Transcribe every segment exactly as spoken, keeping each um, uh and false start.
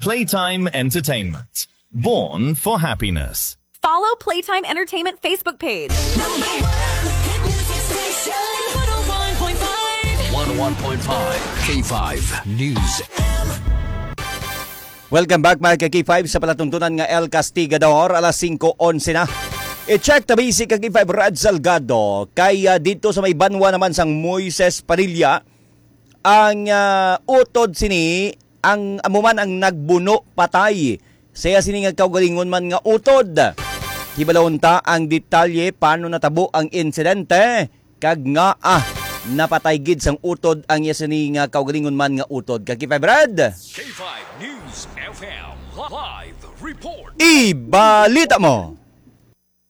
Playtime Entertainment. Born for happiness. Follow Playtime Entertainment Facebook page. Number one hit music station. one oh one point five. one oh one point five K five News. Welcome back, mga ka-K five, sa palatuntunan nga El Castigador. Alas singko onse na. I-check tabi si ka-K five Rad Salgado. Kay, ah, dito sa may banwa naman sang Moises Padilla, ang, ah, utod sini, ang amo man ang nagbuno patay. Saya sini nga kaugalingon man nga utod. Hibalon ta ang detalye paano natabo ang insidente, kag nga, ah, napatay gid sang utod ang iya sini nga kaugalingon man nga utod. Ka-K five Rad, K five News F M live report. Ibalita mo.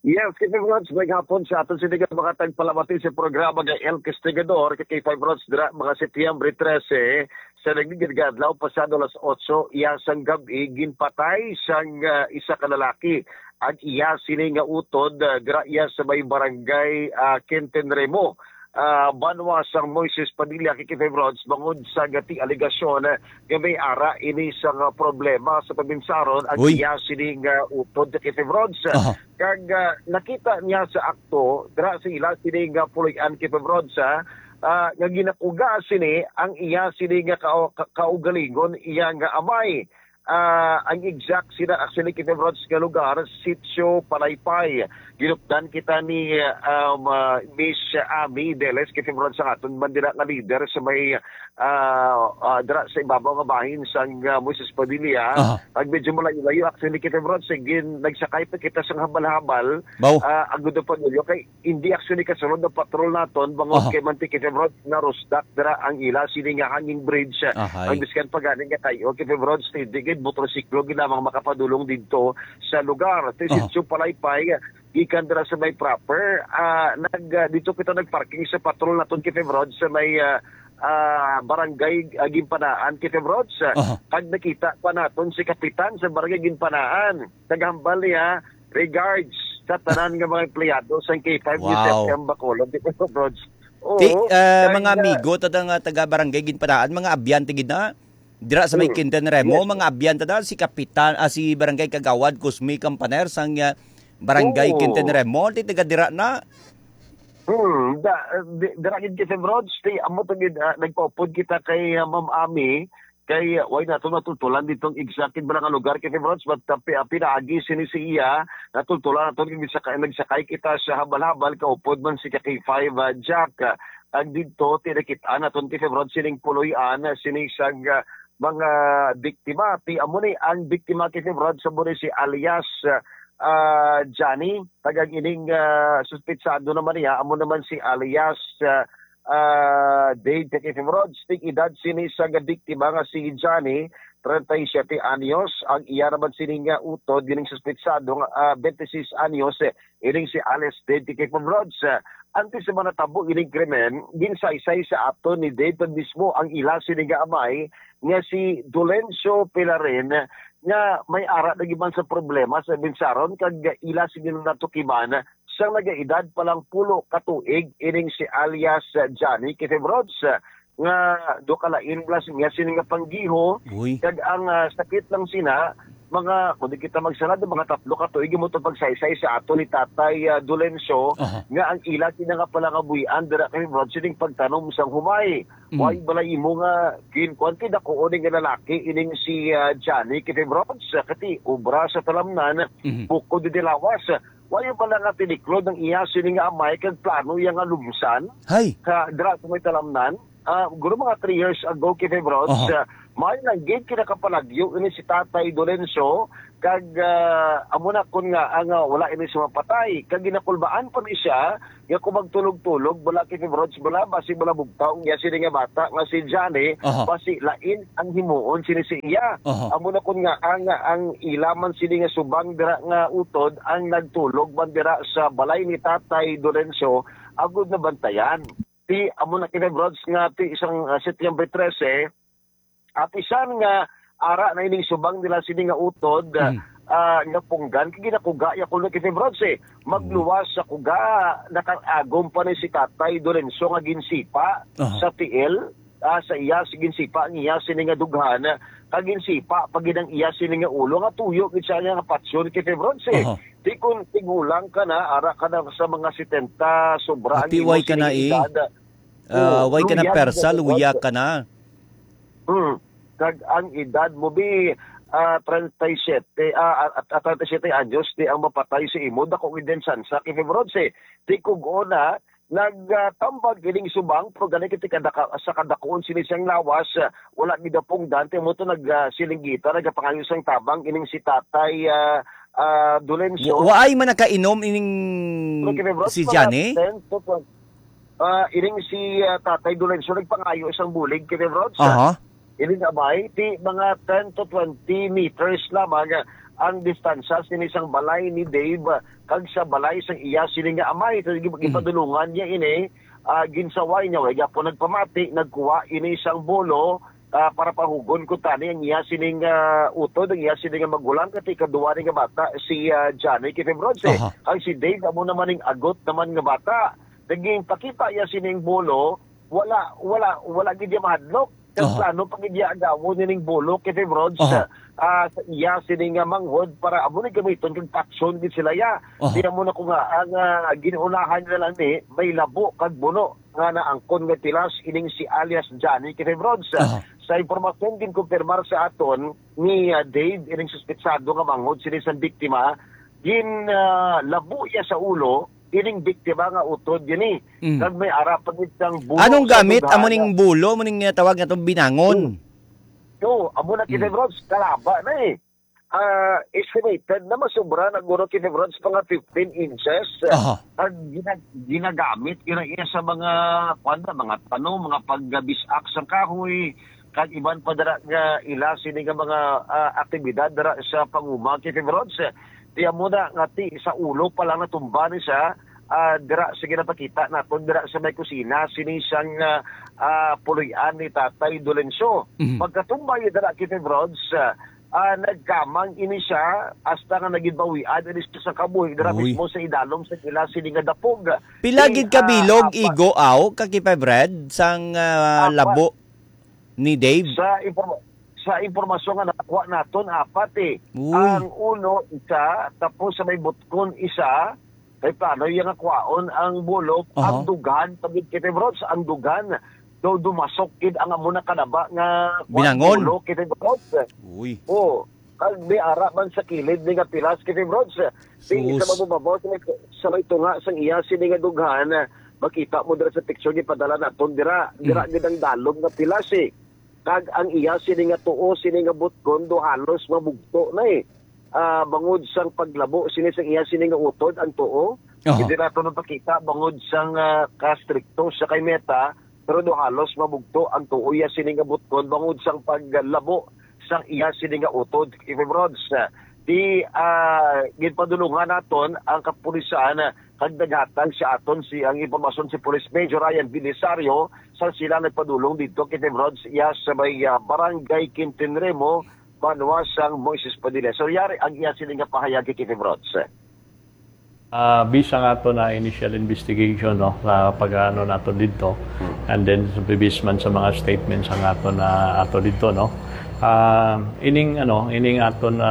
Yes, K five Rods, may hapon sa aton sini nga mga tagpalamati sa programa nga El Castigador, kay K five Rods, dira mga Setyembre trese, sa nagligid nga adlaw, pasado alas otso iya sang gab-i, ginpatay sang, ah, isa ka lalaki ang iya sini nga utod, ah, dira iya sa may barangay, ah, Quintin Remo, ah, banwa sang Moises Padilla, kay K five Rods, bangod sa gati alegasyon, ah, nga may ara ini sang, ah, problema sa pabinsaron ang Uy. iya sini nga utod, kay K five Rods. Aha. Kag, ah, nakita niya sa akto, dira sa ila sini nga puloy-an, kay Febrods, ah, ah, nga ginakuga sini ang iya sini nga ka-, ka-, kaugalingon, iya nga amay. Ah, ang exact sina, actually, kay Febrods nga lugar, Sitio Palaypay. Ginupdan kita ni, ah, um, ah, Miss Ami Deles, kay Febrods, sa aton bandira nga leader sa may, ah, ah, dira sa ibabaw nga bahin sang, ah, Moises Padilla. Aha. Pag medyo malayo-layo, actually, kita, bro, sige, nagsakay pa kita sa habal-habal. Baw. Ah, agud pa ninyo, kay hindi actually kasunod na patrol naton, bangod Aha. kay manti kita, bro, narusdak dira ang ila, sini nga hanging bridge, ah, Ahay. ang biskan pa gani nga kayo, kita, bro, hindi gid motorsiklo gid lamang makapadulong didto sa lugar. Ti Aha. Sitio Palaypay, gikan dira sa may proper, ah, nag, ah, dito kita nagparking sa patrol naton, kita, bro, sa may, ah, ah, barangay, ah, Ginpanaan, kita, bro, sa Aha. Pag nakita pa naton si Kapitan sa Barangay Ginpanaan, naghambal niya, "Regards sa tanan nga mga empleyado sa K five News Wow. F M Bacolod." Di ba, Brods? Oo, Ti, ah, kaya mga amigo, tada nga taga Barangay Ginpanaan, mga abyan ta gid na. Dira sa may Mm. Quintin Remo, Yes. mga abyan ta da, si Kapitan, ah, si Barangay Kagawad Cosme Campaner sang, ah, Barangay Oo. Quintin Remo, ti taga dira na. Hmm, da, di, dira gid kita, Brods, ti amo to gid, ah, nagpaupod kita kay, ah, Ma'am Ami, kay, ah, way nato natultulan ditong exact gid bala nga lugar, kay Brods, but, ah, pi-, ah, pinaagi sini si iya, natultulan nato gid sa ka-, nagsakay kita sa habal-habal, kaupod man si ka K five, ah, Jack, ah, ang didto, tinakit-an naton kay Brods sining puloy-an, ah, sini sang, ah, mga biktima. Ti amo ni ang biktima, kay Brods, amo ni si alias, ah, ah, Johnny, tagang ining, ah, suspetsado naman niya, amo naman si alias, ah, ah, Dave Kakifim Rods. Tig edad sini sa nga biktima nga si Johnny, treinta y siete anyos. Ang iya naman sini nga utod, gining suspetsado nga, ah, twenty-six anyos, eh, ining si alias Dave Kakifim Rods. Ah, antes sa mga natabo ining krimen, ginsaysay sa aton ni Dave mismo ang ila sini nga amay nga si Dolencio Pilarin, nga may ara na gid man sa problema sa binsaron kag ila sini nga natukiban sang nagaedad pa lang pulo ka tuig ining si alias Johnny Kifibrods, nga duha ka lain plus niya sini nga panggiho. Uy. Kag ang, ah, sakit lang sina, mga, kung di kita magsalad, mga tatlo ka tuig mo to pagsaysay sa ato ni Tatay, ah, Dolencio, Aha. nga ang ila sina nga pala nga buhian dira kay Brods sining pagtanom sang humay. Mm. Way bala imo nga ginkuan kay dakuon nga lalaki ining si, ah, Johnny Kifibrods, ah, kati obra sa talamnan, Mhm. bukod di lawas. Way bala nga tiniklod ang iya sini nga amay kag plano iya nga lumsan Hay. ka dira sa may talamnan. Ah, guro mga three years ago, Kifibrods, Aha. ah, may lang gid kinakapalagyo ini si Tatay Dolencio, kag, ah, amo na kun nga, ah, nga wala ini sa mapatay. Kag ginakulbaan pa ni siya, nga kung magtulog-tulog, bala, Kifibrods, bala, basi bala bugtaw, nga sini nga bata, nga si Johnny, Aha. basi lain ang himuon sini si iya. Aha. Amo na kun nga, ang, ang ila man sini nga subang dira nga utod, ang nagtulog man dira sa balay ni Tatay Dolencio, agud na bantayan. Ti, amo na, Kifibrods, nga ti isang, ah, Setyembre trese, apisan nga ara na ining subang nila sini nga utod, Mm. ah, nga punggan, kay ginakuga ya kuno, Kifibrods, eh. Magluwas sa kuga, nakag-agom pa ni si Tatay Dolencio nga ginsipa Aha. sa tiil. ah, sa iya, si ginsipa ang iya sini nga dughan, kag ginsipa pa gid ang iya sini nga ulo, nga tuyo gid siya nga patyon, K P Bronze. Aha. Di kun tigulang ka na, ara ka na sa mga setenta, sobra ang Ati, imo way ka na, sining eh. edad. Ah, Oo, way ka na luya persa, ka na, luya Bronze. ka na. Hmm. Kag ang edad mo, bi, ah, treinta y siete, ah, at, at treinta y siete anyos, di ang mapatay sa imo, dako gid ang tsansa, K P Bronze. Di kug una, nagtambag ining subang, pero gani kiti kadaka-, sa kadakuon sini siyang lawas, ah, wala gid napungdan, ti mo to nag, ah, silinggita, nagapangayo sang tabang ining si Tatay, ah, ah, Dolencio. Wa-, waay man nakainom ining Pero, K P Bronze, si mga Johnny? ten to twelve, ah, ining si, ah, Tatay Dolencio nagpangayo isang bulig, K P Bronze. Aha. Ining amay, ti mga ten to twenty meters lamang ang distansya sini sang balay ni Dave, ah, kag sa balay sang iya sini nga amay. So, gi-, Hmm. gipadulungan niya ini, ah, ginsaway niya, way gapon nagpamati, nagkuha ini sang bolo, ah, para pahugon ko tani ang iya sining, ah, utod, ang iya sining nga magulang, kag ikaduha ni nga bata, si, ah, Johnny, K P Bronze. Aha. Ang si Dave, amo naman ning agot naman nga bata. Naging pakita iya sining bolo, wala, wala, wala gid iya mahadlok. Kag Aha. plano pa gid iya agawon nining bolo, K P Bronze, Aha. ah, sa iya sini nga manghod para amo ni gamiton kag patyon gid sila ya. Aha. Di amo na ko nga ang, ah, ginunahan nila ni may labo kag buno nga naangkon nga pilas ining si alias Johnny, K P Bronze. Aha. Sa impormasyon ginkumpirmar sa aton ni, ah, Dave, ining suspetsado nga manghod sini sang biktima, gin, ah, labo iya sa ulo ining biktima nga utod gini. Mm. Kag may ara pa gid sang buno Anong sa gamit? Amo dughan ning nga bulo, amo ning, ah, tawag nga itong binangon? Hmm. So, amo na kita, Mm. bro, kalaba na eh. Ah, estimated na masobra na guro kita, bro, sa mga fifteen inches. Aha. Ang gina-, ginagamit, gina-, iya sa mga, kwan na, mga tanom, mga paggabisak sa kahoy, kag iban pa dira nga ila sini nga mga, ah, aktibidad dira sa panguma, K P Bronze. Tiyan mo na nga ti sa ulo pa lang natumba ni siya, ah, dira sa ginapakita naton dira sa may kusina sini sang, ah, ah, puloy-an ni Tatay Dolencio. Mhm. Pagkatumba niya dira, K P Bronze, ah, ah, nagkamang ini siya hasta nga naging bawian ini siya sa kabuhi dira Uy. mismo sa idalom sa ila sini nga dapog. Pila Ti, gid ka ah, bilog, apa- igo, aw, ka K P Bronze, sang, ah, Apa- labo? ni Dave? Sa informa-, sa impormasyon nga nakuha naton, apat eh. Uy. Ang ulo, isa, tapos sa may butkon, isa, kay plano iya nga kwaon ang bulok, Aha. ang dughan, pagid kita, bro, ang dughan. Do dumasok gid ang amo na kanaba nga Binangon. bulo, kita, bro. Uy. Oo. Kag may ara man sa kilid ni nga pilas, kita, bro. Di Sus. sa mabubabaw, sa may, sa may tunga sang iya sini nga dughan, makita mo dira sa picture gipadala naton dira. Dira Mm. gid ang dalom nga pilas eh. Kag ang iya sini nga tuo, sini nga butgon, do halos mabugto na eh. Ah, bangod sang paglabo sini sang iya sini nga utod ang tuo. Aha. Hindi nato napakita bangod sang, ah, kastrikto sa kay Meta, pero do halos mabugto ang tuo iya sini nga butgon bangod sang paglabo sang iya sini nga utod, K P Bronze. Di, ah, ginpadulungan naton ang kapulisan, ah, kag naghatag sa aton si, ang impormasyon si Police Major Ryan Belisario sa sila nagpadulong dito, K P Bronze, iya sa may, ah, Barangay Quintinremo, banwa sang Moises Padilla. So, yari ang iya sini nga pahayag, K P Bronze. Ah, bisa nga to na initial investigation, no, sa pag-ano nato dito. Hmm. And then, sa bibis man sa mga statements ang ato na ato dito, no. Ah, ining, ano, ining ato na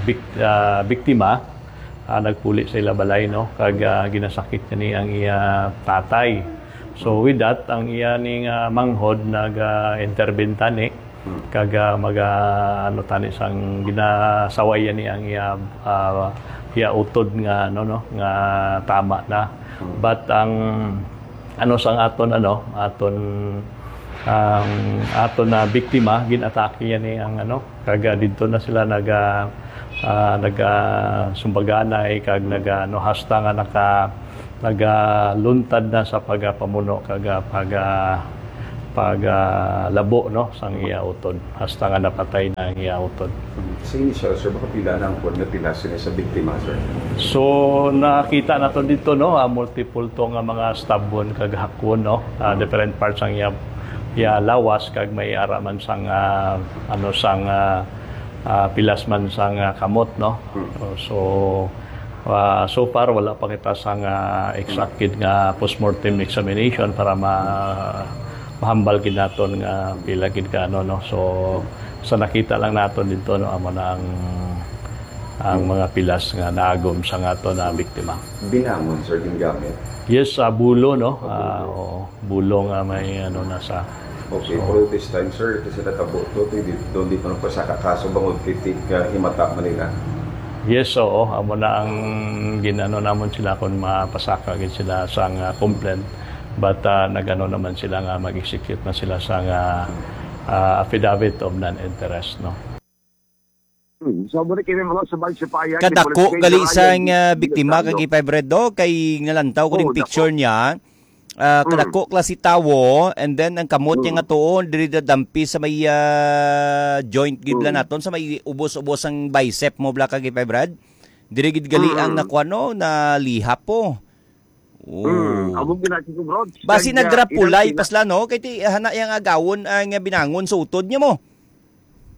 bik-, ah, biktima, ah, nagpuli sa ila balay, no, kag, ah, ginasakit niya ni ang iya tatay. So, with that, ang iya ning, ah, manghod nag, ah, intervene tani. Hmm. Kag, ah, mag, ah, ano tani sang ginasaway ni ang iya, ah, iya utod nga, ano, no, nga tama na. Hmm. But ang, ano, sang aton, ano, aton, ang aton na biktima, ginatake yan ni ang, ano, kag, ah, didto na sila nag, ah, ah, nag, ah, sumbaganay kag nag, ah, ano, hasta nga naka, nagaluntad na sa pagapamuno kag, ah, pag, ah, pag, ah, labo, no, sang iya utod, hasta nga napatay na ang iya utod. Sa initial, sir, baka pila na ang kuwan nga pila sila sa biktima, sir? So, nakita naton dito, no, ah, multiple to nga mga stab wound kag hakwon, no, ah, Hmm. different parts ang iya, iya lawas kag may ara man sang, ah, ano, sang, ah, ah, pilas man sang, ah, kamot, no. Hmm. So, Ah, so far, wala pa kita sang, ah, exact gid nga postmortem examination para ma-, Mahambal gid naton nga pila gid ka, ano, no? So, sa nakita lang naton dito, no, amo na ang, ang mga pilas nga naagom sa aton na biktima. Binangon, sir, gingamit? Yes, ah, bulo, no? Ah, oo. Bulo nga may, ano, nasa. Okay, so, pero this time, sir, kasi natabo to, di, di, doon di pa nagpasaka kaso bangod kay ti-, ka himata man nila. Yes, oo. Amo na ang ginano namon sila kung mapasaka gid sila sa nga complaint. But, ah, nagano naman sila nga mag-execute na sila sa nga, ah, affidavit of non-interest, no? Hmm. So, muna kini mga sabay sa payag ni Kadako Police gali Major sang, Ryan ah, biktima, Villasano. Kag Five Red, do, kay nalantaw ko Oo, ning picture dako. Niya. Ah, Mm. Kadako klase tawo, and then ang kamot niya Mm. nga tuon, diri dadampi sa may, ah, joint gibla Mm. naton, sa may ubos-ubos ang bicep mo, bla, kag Five Red. Diri gid gali ang Mm. nakuha, no, nalihap po. Oh. Mm, amo gid na, Chico Brods. Basi kag, ah, nagrapulay inang ina- pasla, no? Kay ti, hana yang agawon ang binangon sa utod niya mo.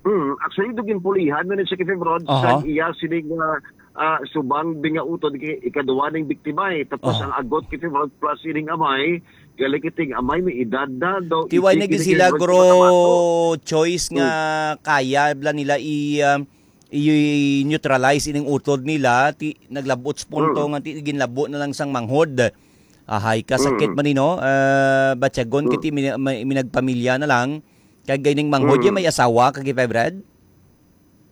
Mm, actually, do ginpulihan na ni si Kevin Brods Aha. Sa iya sini nga, ah, subang di nga utod kay ikaduwa ning biktima, eh. Tapos Aha. Ang agot kay Kevin Brods plus ining amay, gali kiting amay may edad na daw. Ti way na gid sila, gro choice nga Hmm. Kaya bla nila i, um, i-neutralize ining utod nila, ti naglabot sa punto Hmm. Nga ti ginlabo na lang sang manghod. Ahay, kasakit Hmm. Man ni, no? Ah, batyagon Hmm. Kiti mina-, may, minagpamilya na lang. Kag gaining manghod Mm. May asawa, kag Kevin Brad?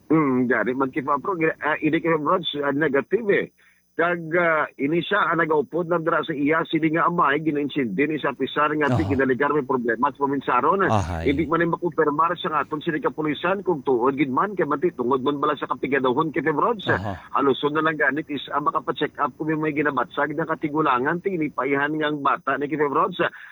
Mm, gani man, Kevin, pero, ah, ini, Kevin Brad, ah, negative, eh. Kag, ah, ini siya ang nagaupod lang dira sa iya, sini nga amay, ginaintindihan ni sa pisar nga ti Aha. Ginaligar may problema sa paminsaron. Ahay. Hindi man ni makumpirmar sa aton sini kapulisan kung tuod gid man, kay man ti tungod man bala sa kapigadohon, Kevin Brad. Aha. Haluson na lang gani, is, ah, makapacheck up kung may, may ginabatsag na katigulangan, ti ini paihan nga ang bata ni Kevin Brad.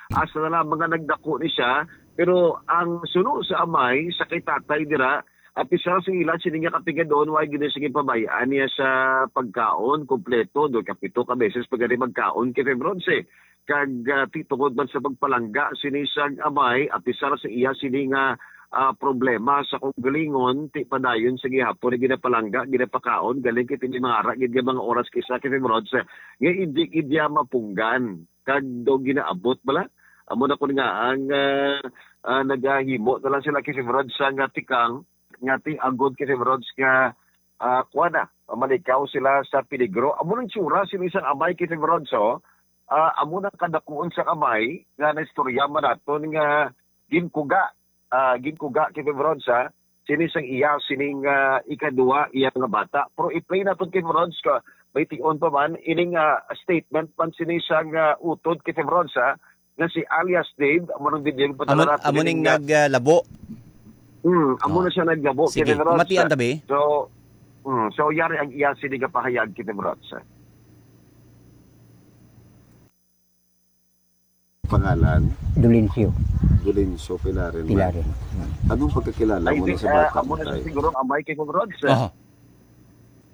Asa na lamang nga nagdako ni siya, pero ang suno sa amay, sa kay tatay dira, apisar sa ila, sini nga kapigadon, way gid sing pabay-an niya sa pagkaon kompleto, do ka pito ka beses pa gani magkaon kay Febronce. Kag, ah, ti tungod man sa pagpalangga sini sang amay, apisar sa iya sini nga, ah, problema sa kaugalingon, ti padayon sa gihapon nga ginapalangga, ginapakaon, galing kay ti may mga ara gid nga mga oras kay sa kay Febronce, nga hindi gid niya mapunggan. Kag daw ginaabot bala. Amo na kun nga ang, ah, ah, nagahimo na lang sila kay Febronce nga tikang, nga ti agod kay Febronce nga, ah, kuwan na, mamalikaw sila sa peligro. Amo nang tsura sini sang amay kay Febronce, oh. Ah, amo nang kadakuon sang amay nga naistorya man naton nga ginkuga, ah, ginkuga kay Febronce, ah, sini sang iya, sining, ah, ikaduwa iya nga bata. Pero i-play naton kay Febronce ka, may tion pa man, ining, ah, statement man sini sang, ah, utod kay Febronce, ah, nga si alias Dave, amo nang video yung Amo, padala natin amo ining, ning ah, nag, ah, labo. Hmm, amo Oh. Na siya naglabo, Sige, kay Febronce. Matian tabi. So, hmm, so yari ang iya sini nga pahayag kay Febronce. Pangalan? Dolencio. Dolencio Pilarin man. Pilarin. Hmm. Anong pagkakilala Ay, mo di, na sa ah, bata amo mo, na siya tay? Siguro ang amay kay Febronce. Aha.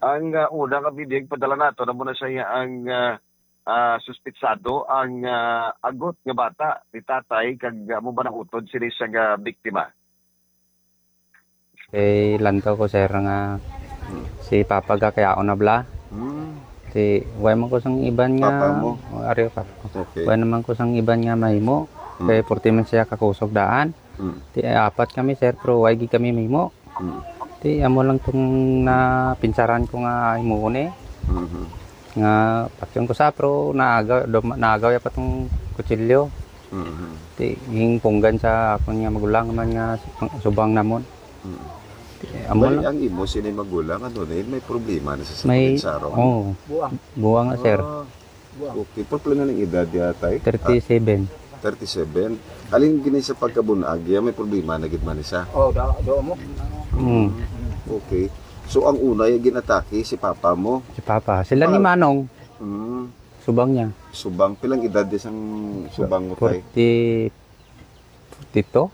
Ang, ah, una nga bidyeng padala nato, amo na siya ang, ah, ah, suspitsado, ang, ah, agot nga bata ni tatay, kag amo ba nautod sini sa nga biktima? Kay lantaw ko, sir, nga si Papa gakayaon na bala. Hmm. Ti, way man ko sang iban nga Papa mo? Oh, ari, Papa ko. Okay. Way naman ko sang iban nga mahimo. Hmm. Kay purti man siya kakusog daan. Hmm. Ti, apat kami, sir, pero way gid kami mahimo. Hmm. Ti, amo lang tong napinsaran ko nga himuon, eh. Mhm. Nga patyon ko sa, pero naagaw, dum-, naagaw ya pa tong kutsilyo. Mhm. Ti, hingpunggan sa akon nga magulang man nga subang namon. Mhm. Ti, amo Bali, lang. Ang imo sini magulang, ano na yun? May problema na sa May, sakit sa araw? Oo. Buang. Buang na, sir. Ah. Buang. Okay. Pero pila na ng edad ya, tay? Thirty-seven. Ah, thirty-seven. Alin gini sa pagkabunag, ya may problema na gid man isa? Oh, da, do mo. Mm. Okay. So, ang una, yung ginatake, si papa mo? Si papa. Sila ni Pangal- Manong. Mm. Subang niya. Subang. Pilang edad di sang subang mo, tay? Forty, forty-two?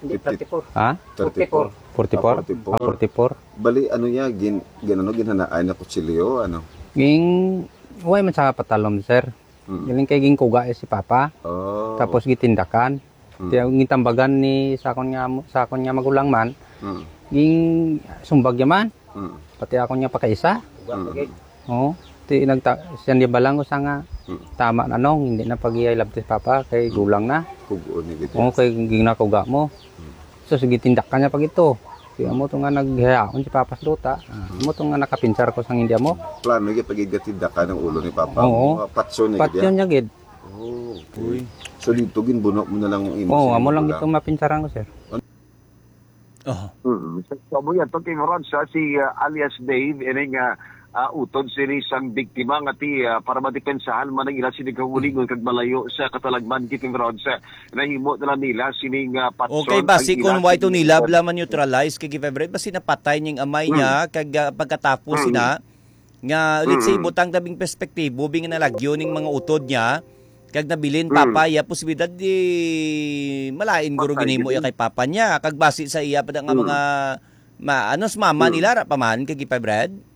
Hindi, Fifty. Thirty-four. Ha? Thirty-four. Forty-four? Ah, forty-four. Ah, forty-four. Bali, ano niya, gin-, gin-, ano, ginhanaan niya kutsilyo, ano? Ging, way man sa patalom, sir. Mm. Galing kay ginkuga, eh, si Papa. Oh. Tapos gitindakan. Mm. Kaya gintambagan ni sa akon nga mo-, sa akon nga magulang man, Mm. ging sumbag niya man. Mm. Pati akon nga pakaisa. Sumbag Mm. lagi. Oo. Ti nagta-, siya ni balang ko sa nga, Hmm. Tama na, Nong, hindi na pag-iya ilabti si Papa, kay gulang na. Kuguon ni gid. Oo, kay ginakuga mo. Hmm. So, sige, tindakan niya pag ito. Kaya mo to nga naghihaon si Papa sa duta. Ah, Hmm. mo to nga nakapinsar ko sang hindi mo. Plano gyud pag igatindakan ang ulo ni Papa. Oo. Mga patso ni Patyon gid. Niya gid. Oh, okay. Uy. So, dito ginbuno mo na lang ang imo Oo, sa amo lang gulang. Ito mapinsaran ko, sir. Aha. Mm. So, so, amo yan, to, King Rod, sa si, ah, alias Dave, ini nga, ah, utod sini sang biktima nga ti, ah, para madepensahan man ang ila sini kaugalingon kag malayo sa katalagman, King Rod, sa nahimo na lang nila sini nga patson Okay, basi ang ila kung why to sini nila nga bla man neutralize kay Gifebred, basi napatay ning amay Mm. niya, kag, ah, pagkatapos Mm. sina, nga, let's say, Mm. butang tabing perspektibo, bing nalagyo ning mga utod niya, kag nabilin Mm. papaya, posibilidad di malain guro Patay ginhimo gid. iya kay papa niya, kag basi sa iya pa nga Mm. mga ma-, ano, sa mama Mm. nila, ra pa man, kay Gifebred?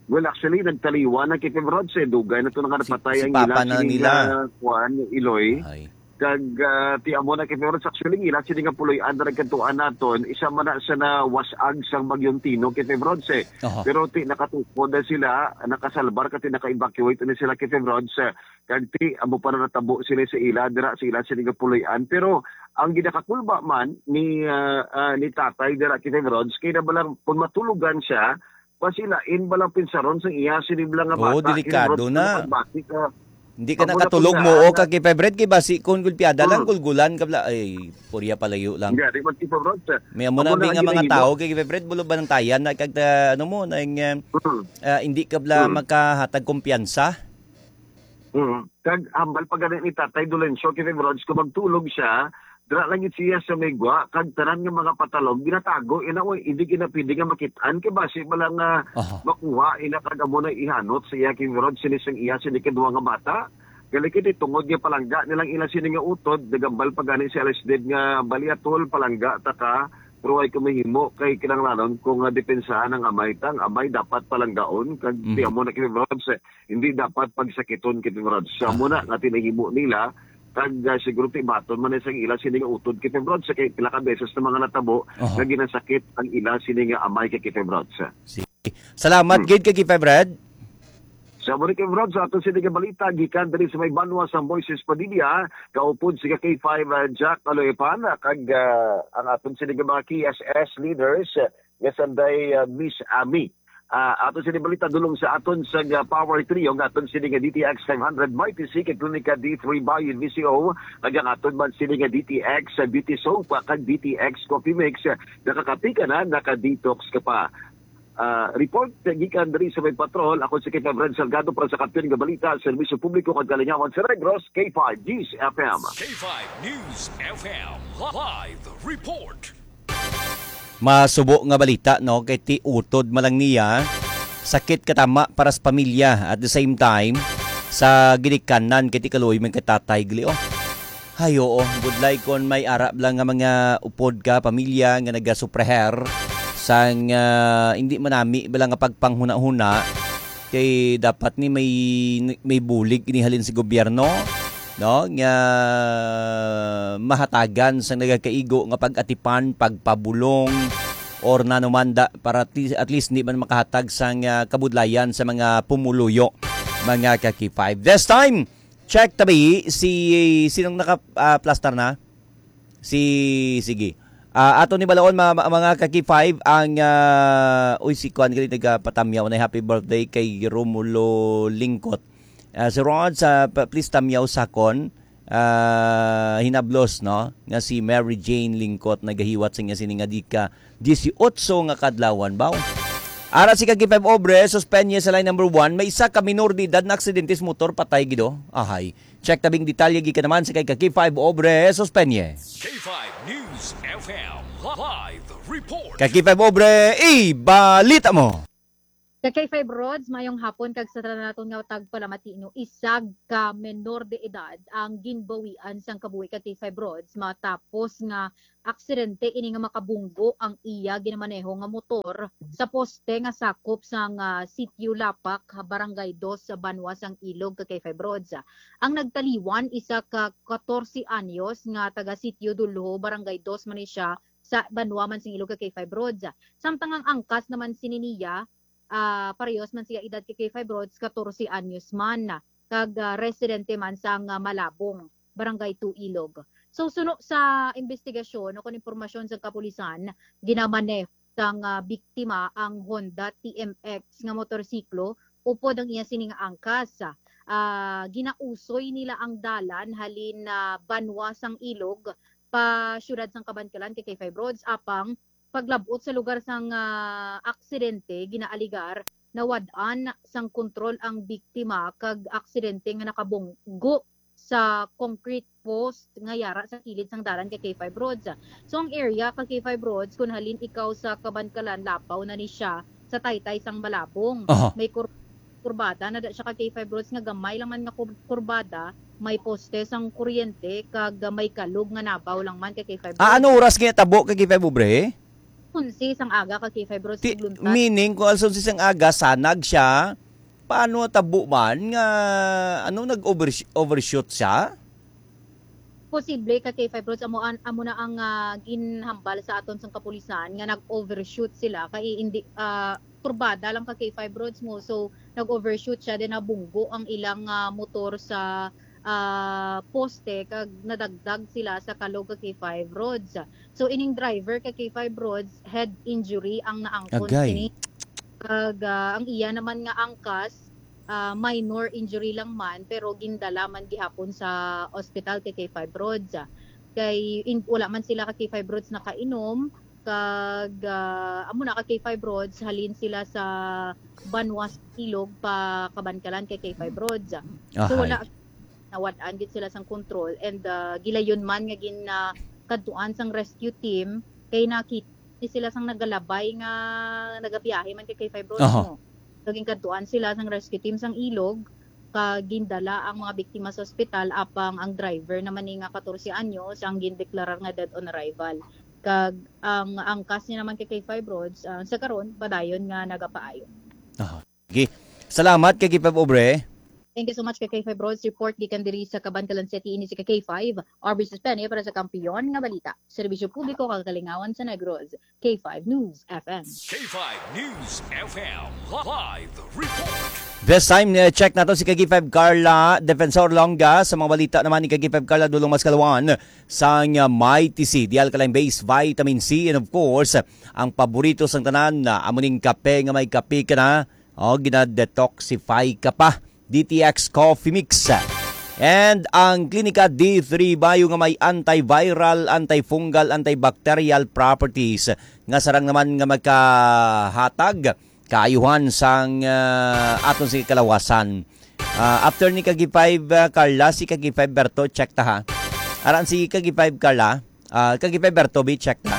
Well, actually, nagtaliwan na kay Febrods, eh. Dugay na to nga Si, napatay si ang papa ila na sini nila. nga kuan, Iloy. Ay. Kag, ah, ti amo na kay Febrods, actually, ila sini nga puloy-an na nagkantuan naton, isa man na sa nawas-ag sang Bagyong Tino kay Febrods, eh. Aha. Pero ti nakatukod na sila, nakasalbar ka ti naka-evacuate na sila kay Febrods, eh. Kag ti amo pa na natabo sila sa ila, dira sa ila sini nga puloy-an. Pero ang ginakakulba man ni, ah, ah, ni tatay dira kay Febrods, kay na balang kung matulogan siya, pasilain balang pinsaron sang iya sini bala nga Oo, bata, delikado Febrods, na. Pagbati ka. Hindi ka Amo na nakatulog kung mo, o naan ka kay Febred, kay basi kung gulpiada lang, Mm. gulgulan ka bala. Ay, purya palayo lang. Hindi, di man si Febrods, eh. May amo Amo na na bi ang nga mga ginahimo. tao kay Febred, bulo ba ng tayan na kag, ah, ano mo, na yung, eh, Mm. ah, hindi ka bala Mm. makahatag kumpiyansa? Mm. Kag hambal pa gani ni Tatay Dolencio kay Febrods, kung magtulog siya, dira lang gid siya sa may gwa, kag tanan nga mga patalog ginatago, ina, oy, hindi gid na pwede nga makit-an, kay basi bala nga Aha. makuha, ina, kag amo na ihanot sa iya kay Febrods, sini sang iya, sini kadwa nga bata. Gali kay di tungod nga palangga nilang ila sini nga utod, nagambal pa gani si Alex Ded nga, "Bali, Atol, palangga ta ka, pero ay ko mahimo kay kinahanglanon ko nga depensahan ang amay ta, ang amay dapat palanggaon, kag Mhm. ti amo na kay Febrods, eh, hindi dapat pagsakiton kay Febrods." Sa amo na Ah. nga tinahimo nila, kag, ah, siguro ti baton man sa ila sini nga utod kay Febrods, sa kay pila ka beses na mga natabo Aha. nga ginasakit ang ila sini nga amay kay Febrods. Sige. Salamat Hmm. gid kay Febred. Sa mo ni Kim Rod, sa aton sini nga balita, gikan diri sa may banwa sa Moises Padilla, kaupod si ka K five, ah, Jack Aloepan, ah, kag, ah, ang aton sini nga mga K S S leaders, ah, nga sanday, ah, Miss Ami. Ah, aton sini balita dulong sa aton sa nga Power Trio, nga aton sini nga D T X five hundred Mighty C, kag Klinika D three Bayan V C O, kag ang aton man sini nga D T X, ah, Beauty Soap, ah, kag D T X Coffee Mix, ah, nakakapi ka na, naka-detox ka pa. Ah, report gikan diri sa may patrol. Ako si Kevin Salgado para sa Kampiyon nga Balita, Serbisyo Publiko kag Kalingawan sa Negros, K five News F M. K five News F M live report. Masubo nga balita, no, kay ti utod man lang niya, sakit katama para sa pamilya. At the same time, sa ginikanan kay ti kaluoy man kay tatay gali, oh. Ay, oo. Budlay kon may arap lang nga mga upod ka pamilya nga nagasupleher sang, ah, hindi manami bala nga pagpanghuna-huna, kay dapat ni may, may bulig inihalin sa gobyerno, no? Nga mahatagan sa nagakaigo nga pag-atipan, pagpabulong, or nanumanda para at least, at least hindi man makahatag sang, ah, kabudlayan sa mga pumuluyo, mga ka-K five. This time, Check tabi si, sinong naka, ah, plaster na? Si, sige. Ah, ato ni balaon, ma-, ma-, mga ka-K five, ang, ah, uy, si Kwan gali nagapatamyaw na happy birthday kay Romulo Lingkot. Ah, si Rod, sa, pa-, please tamyaw sakon, ah, hinablos, no? Nga si Mary Jane Lingkot nagahiwat sa niya sini nga dika dieciocho nga kadlawan, baw. Ara si ka K five Obre, suspenye sa line number one, may isa ka minor de edad na aksidente sa motor, patay gido. Ahay. Check tabing detalye gikan naman sa kay ka K five Obre, suspenye. K five News F M live report. Ka K five Obre, ibalita mo. Ka K five Rods, mayong hapon kag sa tanan naton nga tagpalamati, no, isa ka menor de edad ang ginbawian sang kabuhi ka K five Rods matapos nga aksidente ini nga makabunggo ang iya ginamaneho nga motor sa poste nga sakop sang, ah, Sitio Lapak, Barangay Dos, sa banwa sang Ilog, ka K five Rods. Ang nagtaliwan, isa ka katorse anyos nga taga Sitio Dulho, Barangay Dos man ni siya, sa banwa man sing Ilog, ka K five Rods. Samtang ang angkas naman sini niya, ah, parehas man siya edad kay K five Rods, katorse anyos man. kag, ah, residente man sang, ah, Malabong, Barangay two Ilog. So, suno sa imbestigasyon o kon impormasyon sa kapulisan, ginamaneho sang, ah, biktima ang Honda T M X nga motorsiklo upod ang iya sini nga angkas. Ah, ginausoy nila ang dalan halin, ah, banwa sang Ilog pa siyudad sang Kabankalan, K K five Roads, apang paglab-ot sa lugar sang, ah, aksidente, ginaaligar nawad-an sang kontrol ang biktima kag aksidente nga nakabunggo sa concrete post nga yara sa kilid sang dalan, K K five Roads. So, ang area, K K five Roads, kun halin ikaw sa Kabankalan, lapaw na ni siya sa taytay sang Malabong. Aha. May kur-, kurbada na da siya, K K five Roads, nga gamay lang man nga kur-, kurbada, may poste sang kuryente kag may kalog nga nabaw lang man, K K five Roads. Ah, ano oras nga tabo, K K five Obre? Onse sang aga, K K five Roads, Ti-, Tigluntan. Meaning, kung alas onse sang aga, sanag siya, paano tabo man nga, ano, nag-overs-, overshoot siya? Posible, K K five Roads, amo an-, amo na ang, ah, ginhambal sa aton sang kapulisan nga nag-overshoot sila kay hindi, ah, kurbada lang, K K five Roads, mo. So, nag-overshoot siya, then nabunggo ang ilang, ah, motor sa, ah, poste kag nadagdag sila sa kalog, K K five Roads. So, ining driver, K K five Roads, head injury ang naangkon Agay. Sini. Kag, ah, ang iya naman nga angkas, ah, minor injury lang man, pero gindala man gihapon sa ospital, K K five Roads. Kay in-, wala man sila, K K five Roads, nakainom, kag, ah, amo na, K K five Roads, halin sila sa banwa sa Ilog pa Kabankalan, K K five Roads. So, Ahay. Wala, nawad-an gid sila sang kontrol, and, ah, gilayon man nga gin-, ah, kadtuan sang rescue team, kay nakita ni sila sang nagalabay nga nagabiyahe man, K K five Roads, Aha. No? So, ginkadtuan sila sang rescue team sang Ilog, kag gindala ang mga biktima sa ospital, apang ang driver naman ni nga katorse anyos ang gindeklarar nga dead on arrival. Kag ang angkas niya naman, K K five Roads, ah, sa karon, padayon nga nagapaayo. Aha. Okay. Salamat, K K five Obre. Thank you so much, K K five Roads. Report gikan diri sa Kabankalan City, ini si K K five, R B Sustene para sa Kampiyon nga Balita. Serbisyo publiko kag kalingawan sa Negros. K five News F M. K five News F M live report. This time, eh, check nato si K K five Carla Defensor Longga. Sa mga balita naman ni K K five Carla, dulong mas kalawan sang, ah, Mighty C, Dial Kalayang Base Vitamin C, and of course, ang paborito sang tanan, ah, amo ning kape nga may kape ka na, o, gina-detoxify ka pa. D T X Coffee Mix. And ang Klinika D three Bio nga may antiviral, antifungal, antibacterial properties nga sarang naman nga magkahatag kaayuhan sang, ah, aton sa kalawasan. Ah, after ni Kagi five, ah, Carla, si Kagi five Berto, check ta ha. Aran si Kagi five Carla, ah, Kagi five Berto, bi, check ta.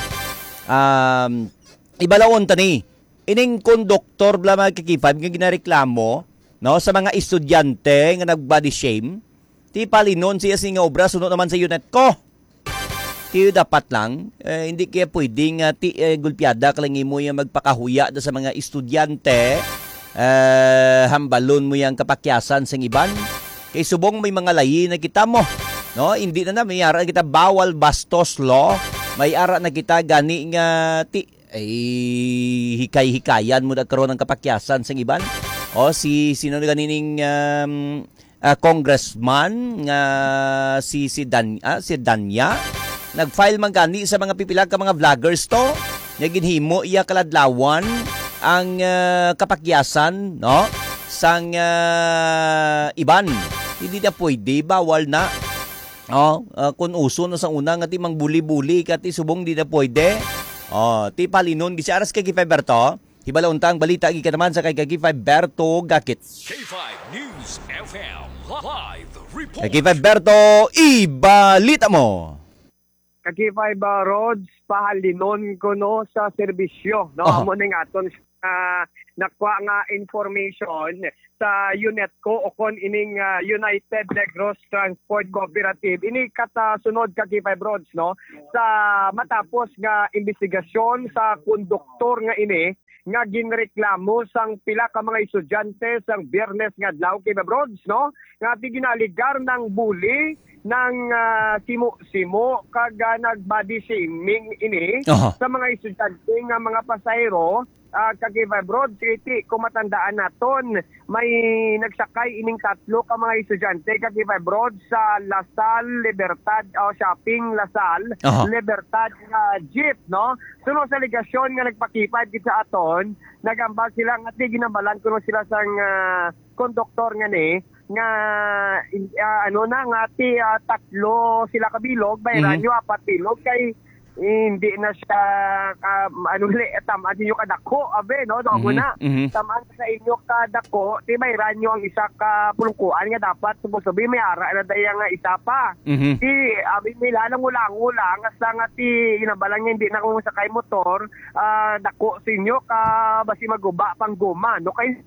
Um, ibalawon ta ni. Ining konduktor bala, mga Kaki five, nga ginareklamo, no, sa mga estudyante nga nag-body shame, ti palinon siya sini nga obra suno naman sa UNETCO. Ti dapat lang, eh, hindi kaya pwede nga ti, eh, gulpiada ka lang imo yang magpakahuya da sa mga estudyante, eh, hambalon mo yang kapakyasan sang iban. Kay subong may mga layi na kita mo, no? Hindi na na, may ara na kita bawal bastos law. May ara na kita gani nga ti, ay, hikay-hikayan mo na karon ang kapakyasan sang iban. O, si, sino na ganining, um, ah, congressman nga si, si Dan-, ah, si Danya? Nag-file man gani sa mga pipila ka mga vloggers to. Nga ginhimo iya kaladlawan ang, ah, kapakyasan, no? Sang, ah, iban. Hindi na pwede, bawal na. Oh, ah, kun uso na sa una nga ti mangbuli-buli ka ti subong di na pwede. Oh, ti palinon, gisi aras kay Kay Five Berto. Hibalaon ta ang balita gikan naman sa kay Kay Five Berto Gakit. K five News F M live report. Kay Kay Five Berto, ibalita mo. Kay Kay Five, ah, Rods, pahalinon ko, no, sa serbisyo, no? Aha. Amo ning aton, ah, nakuha nga information sa UNETCO o kon ining, ah, United Negros Transport Cooperative. Ini katasunod, Kay Kay Five Rods, no? Sa matapos nga imbestigasyon sa konduktor nga ini nga ginreklamo sang pila ka mga estudyante sang Biyernes nga adlaw, Kay Five Rods, no? Nga ti ginaaligar nang bully, nang, ah, simo-simo kag, ah, nag-body shaming ini Aha. sa mga estudyante nga mga pasahero Ah, ka K five Rods, iti, kung matandaan naton, may nagsakay ining tatlo ka mga estudyante, ka K five Rods, sa Lasal, Libertad, o Shopping Lasal, Aha. Libertad nga jeep, no? Suno sa alegasyon nga nagpakipad gid sa aton, nagambal sila nga ti ginambalan kuno sila sang, ah, konduktor nga ni, nga, ah, ano na, nga ti, ah, tatlo sila ka bilog, bayran Mhm. nyo apat bilog, kay hindi na siya ka, ano, li-, tam-an ninyo kadako, abi, no? Damo Mhm, na. mhm. Tam-an sa inyo kadako, ti bayran nyo ang isa ka pulungkuan nga dapat supposed to be may ara na daya nga isa pa. Mhm. Di, abi, may lalang ulang-ulang, hasta nga ti, inabalan nga hindi na kung sakay motor, ah, dako sa inyo ka, basi maguba pang guma, no? Kay,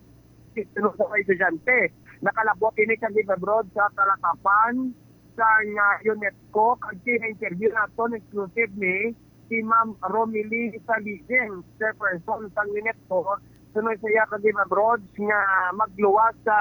sa mga estudyante, nakalabot ini kag abroad sa talakapan sang, ah, UNESCO, kag kina-interview naton exclusive ni si Ma'am Romilly Saligen, chairperson sang UNESCO, suno sa iya kag abroad nga magluwas sa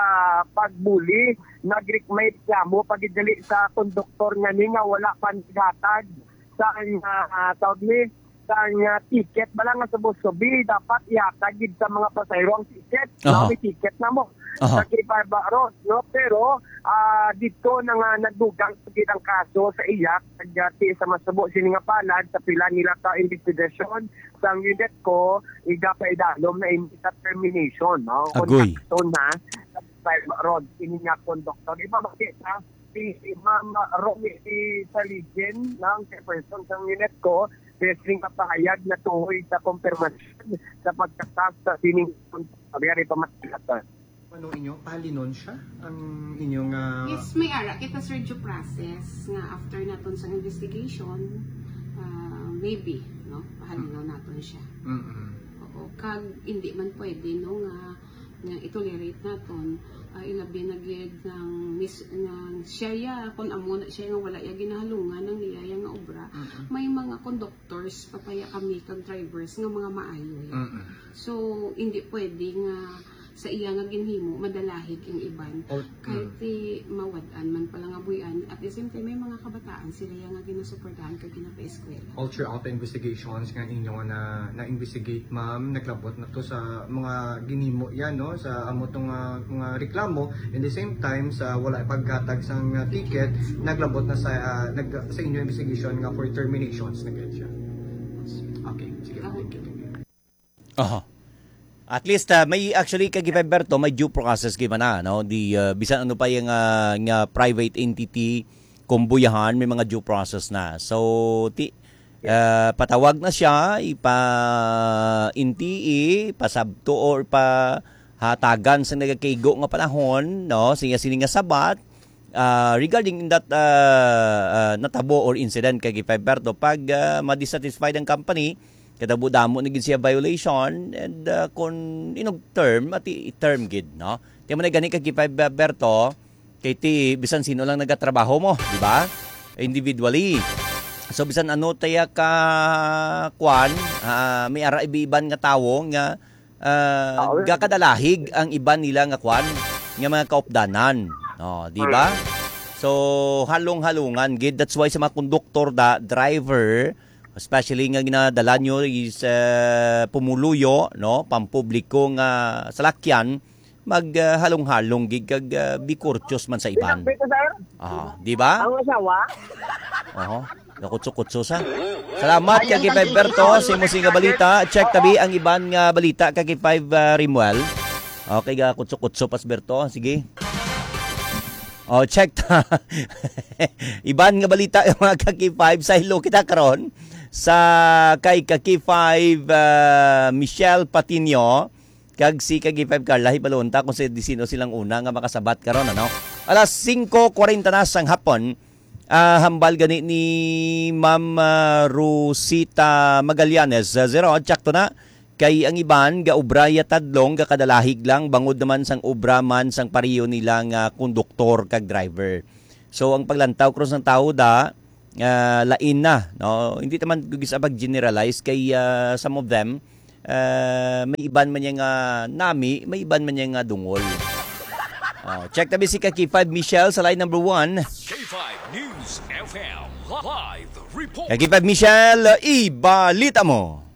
pagbuli, nagre-, may reklamo pa gid dali sa konduktor nga ni nga wala pa naghatag sa, ah, tawag ni, sang, ah, ticket bala nga supposed to be dapat ihatag gid sa mga pasahero ang ticket, no? Aha. May ticket na mo Aha. sa K five Road, no? Pero, ah, dito na nga nagdugang gid ang kaso sa iya, kag, ah, ti sa masubo sini nga palad sa pila nila ka investigasyon sang UNESCO, igapaidalom na ini sa termination, no? Agoy. Kontakto na sa K five Road, ini nga konduktor. Ipamakita si Ma'am Romy Saligin, ang chairperson sang UNESCO, Wrestling kapahayag na tuhoy sa kompirmasyon sa pagkatap sa sining pagkari pamatilatan. Ano inyo, pahalinon siya ang inyong, ah, Yes, may ara kita, sir, due process nga after naton sa investigation, ah, maybe, no? Pahalinon naton siya. Mm-mm. Oo, kag hindi man pwede, no, nga nga i-tolerate naton, ah, ilabi na gid nga mis-, nga siya ya, kun amo na siya nga wala ya ginahalungan ang niya ya nga obra. Mm-mm. May mga conductors pa paya kami kag drivers nga mga maayo ya. Mm-mm. So, hindi pwede nga sa iya nga ginhimo madalahig ang iban. Oh, Kahit mm. ti mawad-an man pala nga buy-an, at the same time may mga kabataan sila ya nga ginasuportahan kag ginapaeskwela. All throughout the investigations nga inyo na na-investigate, ma'am, naglabot na to sa mga ginhimo yan, no? Sa amo tong, ah, mga reklamo. In the same time, sa wala paghatag sang, ah, ticket, naglabot na sa, ah, nag-, sa inyo investigation nga for terminations na gid siya. Okay, sige, thank you, thank you. Aha. At least, ah, may actually, kag Berto, may due process gid man na, no? Di, ah, bisan ano pa yung, ah, nga private entity, kumbuyahan, may mga due process na. So, ti, ah, patawag na siya, ipa-intii, pasabto or pahatagan sa nagakaigo nga panahon, no? Siya sini nga sabat, ah, regarding in that, ah, ah, natabo or incident kag Berto, pag, ah, ma-dissatisfied ang company, kadamo-damo na gid siya violation, and, ah, kung inog term, ati term gid, no? Ti man gani kag Berto, kay ti bisan sino lang nagatrabaho mo, di ba? Individually. So, bisan ano taya ka, kwan, ah, may ara iban nga tawo nga, ah, Ah, well, gakadalahig ang iban nila nga kwan, nga mga kaupdanan. Oh, di ba? Mm. So, halong-halungan gid. That's why sa mga konduktor da, driver, especially nga ginadala nyo is, ah, pumuluyo, no, pampubliko nga salakyan, mag, ah, halong-halong gid kag, ah, be courteous man sa iban. Pinapit ko, sir. Ah, di ba? Ang asawa? Oho. Nakutso-kutso sa. Salamat kag Berto sa imo sing nga balita. Check tabi ang iban nga balita kag five, ah, Rimuel. Okay, ga kutso-kutso pas Berto. Sige. Oh, check ta. Iban nga balita, mga kag five, sa hello kita karon sa kay kag five, ah, Michelle Patino. Kag si kag five Carla, hibalo unta kung si, di sino silang una nga makasabat karon, ano? Alas singko kwarenta na sang hapon, ah, hambal gani ni Ma'am, ah, Rosita Magallanes, ah, zero, tsakto na. Kay ang iban, gaobra ya tadlong, gakadalahig lang, bangod naman sang obra man sang pareho nila nga konduktor kag driver. So, ang paglantaw, cross ng tao da, ah, lain na, no? Hindi naman gugis pag-generalize kay, ah, some of them, ah, may iban man niya nga nami, may iban man niya nga dungol. Oh, check tabi si Kaki five Michelle sa line number one. K five News F M live report. Kaki five Michelle, ibalita mo.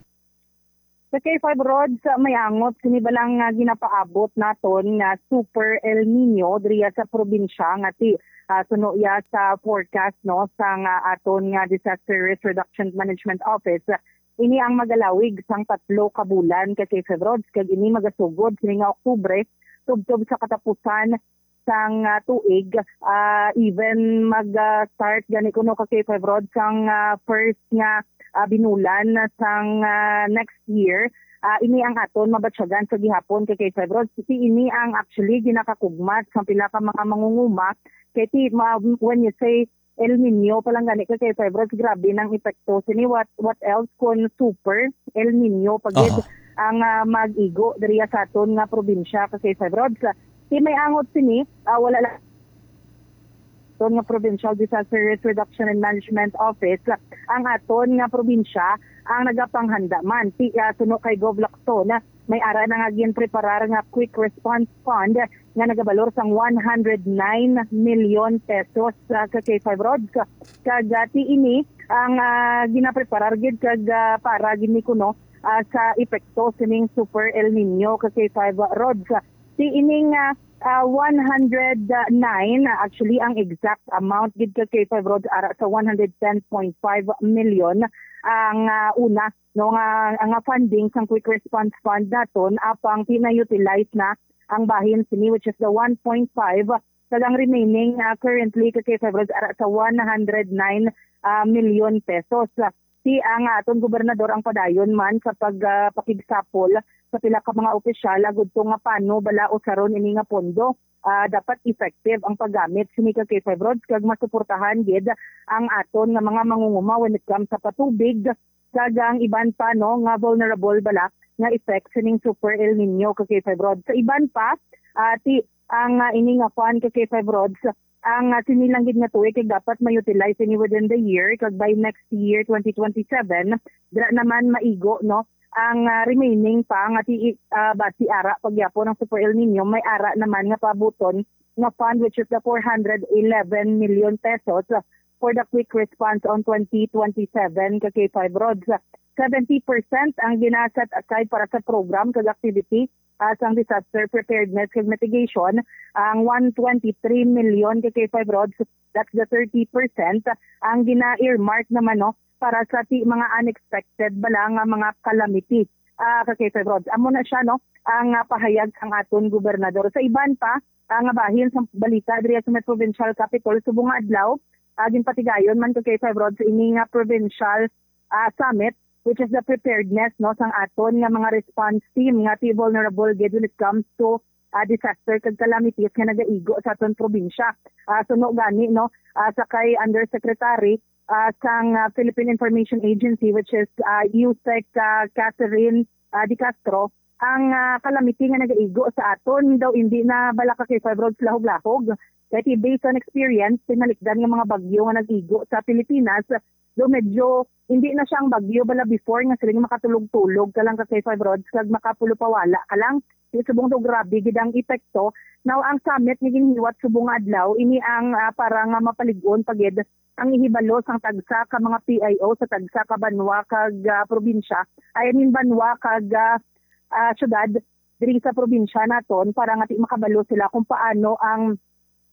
Sa K five Rods, ah, may angot sini bala nga ginapaabot naton nga Super El Nino diriya sa probinsya nga ti, ah, suno ya sa forecast, no, sang, ah, aton nga Disaster Risk Reduction Management Office. Ini ang magalawig sang tatlo ka bulan ka K five Rods, kag ini magasugod sini nga Oktubre tubtob sa katapusan sang, ah, tuig, ah, even mag, ah, start gani kuno ka K five Rods sang, ah, first nga, ah, binulan sang, ah, next year. Ah, ini ang aton mabatyagan sa gihapon ka K five Rods. Kasi ini ang actually ginakakugmat sang pila ka mga mangunguma. Kay ti, ma-, when you say El Nino pa lang gani ka K five Rods, grabe nang epekto sini. What, what else kun super El Nino pa gid Aha. ang, ah, mag-igo diriya sa aton nga probinsya ka K five Rods? Ti may angot sini, ah, wala lang aton nga Provincial Disaster Risk Reduction and Management Office, ang aton nga probinsya ang nagapanghanda man. Ti, ah, suno kay Gov Lacson, may ara na nga ginpreparar nga Quick Response Fund nga nagabalor sang one hundred nine million pesos, ah, ka K five Rods. Kag, ah, ti ini ang, ah, ginapreparar gid kag, ah, para gid ni kuno, ah, sa epekto sining Super El Nino ka K five Rods. Ti ining, ah, ah, one hundred nine, ah, actually ang exact amount gid ka K five Rods ara sa one hundred ten point five million ang, ah, una, no, nga, nga funding sang Quick Response Fund naton, apang pina-utilize na ang bahin sini, which is the one point five, kag ang remaining, ah, currently ka K five Rods ara sa one hundred nine, ah, million pesos. Ti ang, ah, aton gobernador ang padayon man sa pag, ah, pakigsapol sa pila ka mga opisyal agud to nga paano bala usaron ini nga pondo. Ah, dapat effective ang paggamit sini ka K five Rods kag masuportahan gid ang aton nga mga mangunguma when it comes sa patubig kag ang iban pa, no, nga vulnerable bala nga effect sining Super El Nino ka K five Rods. Sa iban pa, ah, ti ang, ah, ini nga fund ka K five Rods, ang, ah, sini lang gid nga tuig kay dapat ma-utilize ini within the year, kag by next year, twenty twenty-seven, dira naman maigo, no, ang, ah, remaining pa nga ti, ah, basi ara pagyapon ang Super El Nino, may ara naman nga paabuton nga fund, which is the four hundred eleven million pesos for the quick response on twenty twenty-seven ka K five Rods. Seventy percent ang gina-set aside para sa program kag activity, ah, sang disaster preparedness kag mitigation. Ang one twenty-three million ka K five Rods, that's the thirty percent, ang gina-earmark naman, no, para sa ti-, mga unexpected bala nga mga calamity, ah, ka K five Rods. Amo na siya, no, ang, ah, pahayag sang aton gobernador. Sa iban pa, ah, nga bahin sa balita diri sa may provincial capital, subong nga adlaw, ah, ginpatigayon man ka K five Rods ini nga provincial, ah, summit, which is the preparedness, no, sang aton nga mga response team nga ti vulnerable gid when it comes to, ah, disaster kag calamities nga nagaigo sa aton probinsya. Ah, suno gani, no, ah, sa kay Undersecretary, ah, sang, ah, Philippine Information Agency, which is, ah, USEC, ah, Catherine, ah, De Castro, ang, ah, calamity nga nagaigo sa aton daw hindi na bala ka K five Rods lahog-lahog. Kay ti based on experience, tinalikdan nga mga bagyo nga nag-igo sa Pilipinas, do medyo hindi na siya ang bagyo bala before nga siling makatulog-tulog ka lang ka K five Rods kag makapulupawala ka lang. Di subong daw grabe gid ang epekto. Now, ang summit nga ginhiwat subong nga adlaw, ini ang, ah, para nga mapalig-on pa gid ang ihibalo sang tagsa ka mga P I O sa tagsa ka banwa kag, ah, probinsya, I mean, banwa kag, ah, ah, syudad diri sa probinsya naton para nga ti makabalo sila kung paano ang,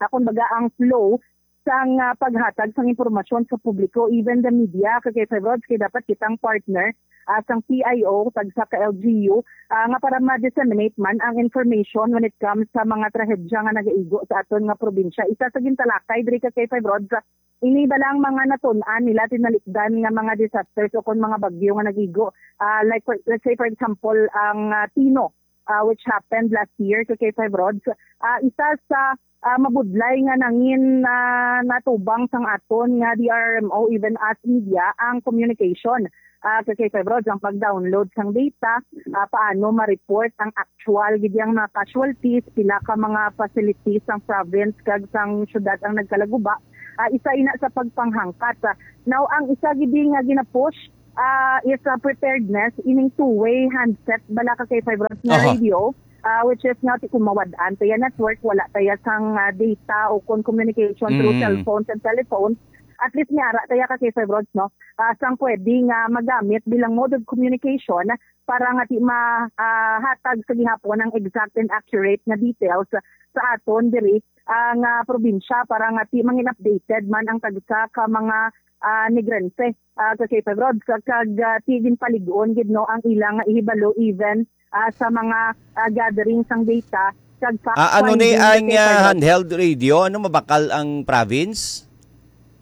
ah, kung baga ang flow sang, ah, paghatag sang impormasyon sa publiko, even the media, kay Febrods, kay dapat kitang partner, ah, sang P I O, tagsa ka L G U, ah, nga para ma-disseminate man ang information when it comes sa mga trahedya nga nagaigo sa aton nga probinsya. Isa sa gintalakay diri ka kay Febrods, ini ba lang mga natun-an nila, tinalikdan nga mga disasters o kon mga bagyo nga nag-igo? Ah, like, for, let's say, for example, ang, ah, Tino, ah, which happened last year to K five Rods. Ah, isa sa, ah, mabudlay nga nangin, ah, natubang sang aton nga D R R M O, even as media, ang communication. Ah, to K five Rods, ang pag-download sang data, ah, paano ma-report ang actual gid yang mga casualties, pila ka mga facilities sang province kag sang syudad ang nagkalaguba. Ah, isa ina sa pagpanghangkat. Ah, now, ang isa gid nga ginapush, ah, is, ah, preparedness, ining two-way handset bala ka kay Febrods nga Aha. radio, ah, which is nga ti kung mawad-an taya network, wala taya sang, ah, data o kon communication through Mm. cellphones and telephones, at least may ara tayo ka K five Rods, no? Ah, sang pwede nga magamit bilang mode of communication para nga ti ma-, ah, hatag sa gihapon ang exact and accurate nga details sa aton diri, ah, nga probinsya para nga ti mangin updated man ang tagsa ka mga, ah, Negrense, ah, ka K five Rods, kag, ah, ti din paligon gid, no, ang ilang nga ihibalo even, ah, sa mga, ah, gathering sang data kag fact Ah, ano ni finding ang, ka K five ah, Rods. Handheld radio? Ano, mabakal ang province?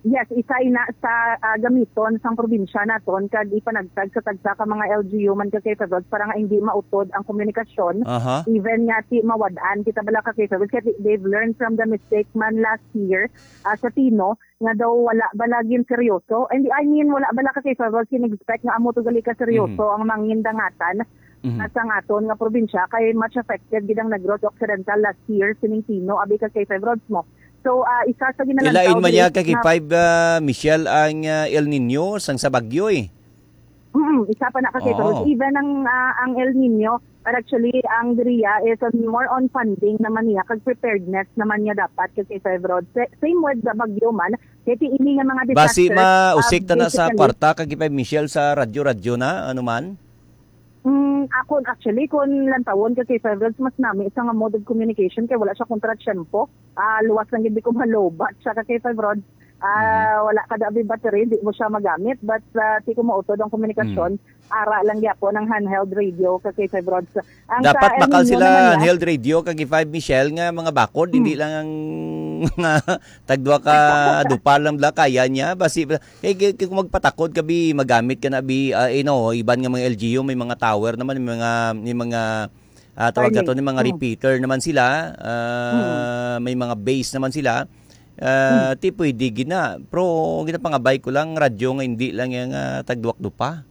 Yes, isa ina sa, ah, gamiton sang probinsya naton kag ipanagtag sa tagsa ka mga L G U man ka K five Rods para nga hindi mautod ang komunikasyon. Aha. Even nga ti mawad-an kita bala ka K five Rods kay they've learned from the mistake man last year, ah, sa Tino nga daw wala bala gin seryoso. And I mean, wala bala ka K five Rods gin-expect nga amo to gali ka seryoso Mhm. ang mangindangatan Mhm. sa aton nga probinsya kay much affected gid ang Negros Occidental last year sining Tino abi ka K five Rods mo. So, ah, isa sa ginalantaw Ilain man diri niya ka K five, ah, Michelle, ang, ah, El Nino sang sa bagyo, eh. Mm, isa pa na kasi, Oo. Pero even ang, ah, ang El Nino, but actually, ang Dria is on, more on funding naman niya, kag preparedness naman niya dapat kasi, Febro. Sa-, same with the Bagyo man, kaya ti ini nga mga Basi disaster, ma-, ah, usik ta na sa basically kwarta, ka K five Michelle, sa radyo-radyo na, ano man? Mm, ako, actually, kung lantawon ka kay Five Rods, mas nami sa nga mode of communication kay wala siya kontra tiyempo. Ah, luwas lang gid ko malobat siya ka kay Five Rods. Ah, Mhm. wala ka dabi battery, di mo siya magamit. But, ah, di ko mautod ang komunikasyon. Mm. Ara lang gyapon ang handheld radio ka kay Five Rods. Ang Dapat sa El bakal Nino sila naman niya, handheld radio ka kay Five Michelle nga mga bakod, hindi Mm. lang ang mga tagduha ka dupa lang bala kaya niya. Basi, Kay, kay, kay kung magpatakod ka, bi, magamit ka na, bi, ah, you know, iban nga mga L G U, may mga tower naman, may mga, may mga, ah, tawag Starlink. Ato, may mga Mm. repeater naman sila, ah, Mm. may mga base naman sila. Ah, Mm. ti pwede gina. Pero ginapangabay ko lang, radyo nga hindi lang yung, ah, tagduwak dupa.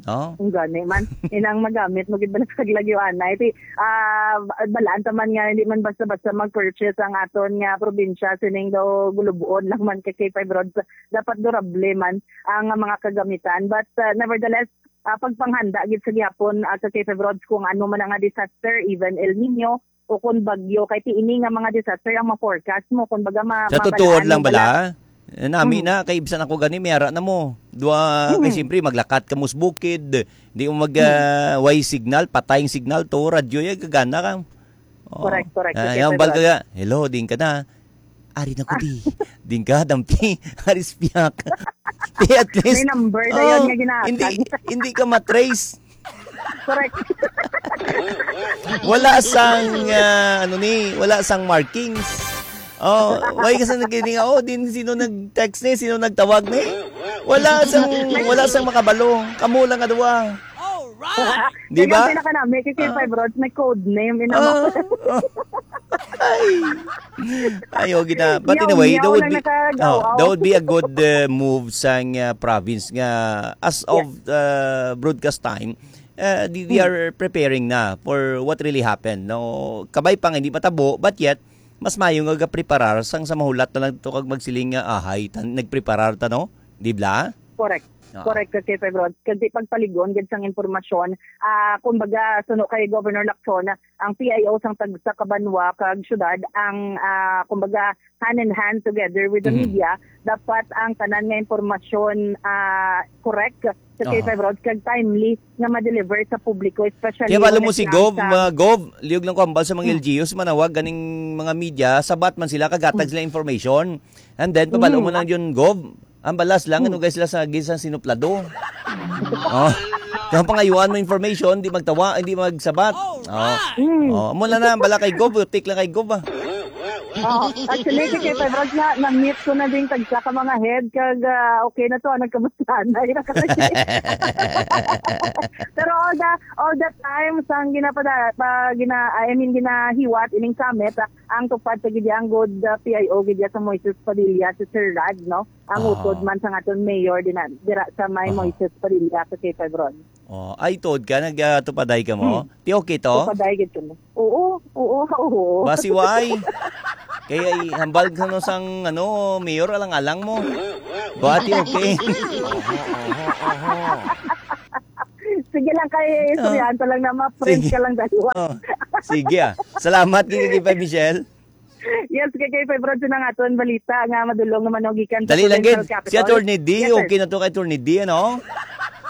No? Ang gani man. Inang magamit mo gid ba na sa lagyo, anay? Ti, ah, ba-, balaan ta man nga, hindi man basta-basta mag-purchase ang aton nga probinsya, sining daw gulubuon lang man kay K five Rods. Dapat durable man ang mga kagamitan. But, uh, nevertheless, uh, pagpanghanda gid sa gihapon, uh, sa K five Rods kung ano man ang disaster, even El Nino o kung bagyo, kay ti ini nga mga disaster ang ma-forecast mo, kung baga ma-, Sa mabalaan tutuod lang mo bala, bala? Eh, nami Hmm. na, kay bisan ako gani, may ara na mo. Dua, kay Hmm. siyempre, maglakat ka mo sa bukid, di mo mag, Hmm. ah, way signal, patay ang signal, to, radyo, ya, gagana ka. Oh. Correct, correct. Ah, Okay, yan, bal ka Pedro. Ga, "Hello, din ka na." Ari na ko, Ah. di. Din ka, dampi. Ari spiyak. Di, at least, May number na yun oh, nga ginahatag. hindi, hindi ka matrace. Correct. Wala sang, ah, ano ni, wala sang markings. Oh, why ka sa nagkini nga, oh, din sino nag-text ni, sino nagtawag ni? Wala sang, wala sang makabalo. Kamo lang nga duwa. Di ba? Kaya pinakanami, kay Ah. Five Rods, may code name, ina mo. Ah, ah. Ay. Ayo, gina. But Yaw, anyway, that yaw would lang be, nakagaw, oh, aw. that would be a good, uh, move sang, uh, province nga as Yes. of, uh, broadcast time, uh, di-, they Mm. are preparing na for what really happened. No, kabay pa nga hindi matabo, but yet mas mayo nga gapreparar sang sa mahulat na lang to kag magsiling nga, "Ahay, tan-, nagpreparar ta, no?" Di bla? Correct. Oo. Correct ka, K five Rods. Kasi pagpaligon gid sang impormasyon, ah, kumbaga, suno kay Governor Lacson, ang P I O sang tagsa ka banwa kag syudad ang, ah, kumbaga, hand in hand together with the Mhm. media. Dapat ang tanan nga impormasyon, ah, correct sa K five Aha. Rods kag timely nga ma-deliver sa publiko, especially Kaya balo when mo it si comes Gov, sa ah, Gov, liog lang ko ambal sa mga Mm. L G Us, manawag ganing mga media, sabat man sila, kagatag Mm. sila information. And then, pabalo mo Mm. lang yun, Gov. Ang balas lang, Hmm. ano guys, sila sa gisa sinuplado. Oh. Kung pangayuan mo information, di magtawa, hindi magsabat. Oh. Hmm. Oh, mula na, bala kay Gov, tik lang kay Gov, ah. Oh, actually, si K five Rods na, na-meet ko na din tagsa ka mga head, kag, ah, okay na to, ah, nagkamustahan na. Pero all the, all the time, sa ang ginapada, pa, gina, I mean, ginahiwat, ining summit, ah, ang tupad sa gid ang good, ah, P I O gid sa Moises Padilla, si Sir Rad, no? Ang Ah. utod man sa aton mayor din na, dira sa may Ah. Moises Padilla sa K five Rods. Oh, ay, tuod ka, nagtupaday ka mo? Hmm. Ti okay to? Tupaday gid kami. Oo, oo, oo. Basi why? Kaya i-, hambal ka no sang, ano, mayor, alang-alang mo. Ba, ti okay? Sige lang, kay Ah. istoryahan ko lang na ma-friends Sige. ka lang dalawa. Oh, sige, ah. Salamat, Gigi, kay Michelle. Yes, kay, kay Febron, sa nga aton balita nga madulong naman, no, gikan sa Dali lang, provincial gid. Si capital. Attorney D, Yes, sir. Okay na to kay Attorney D, ano?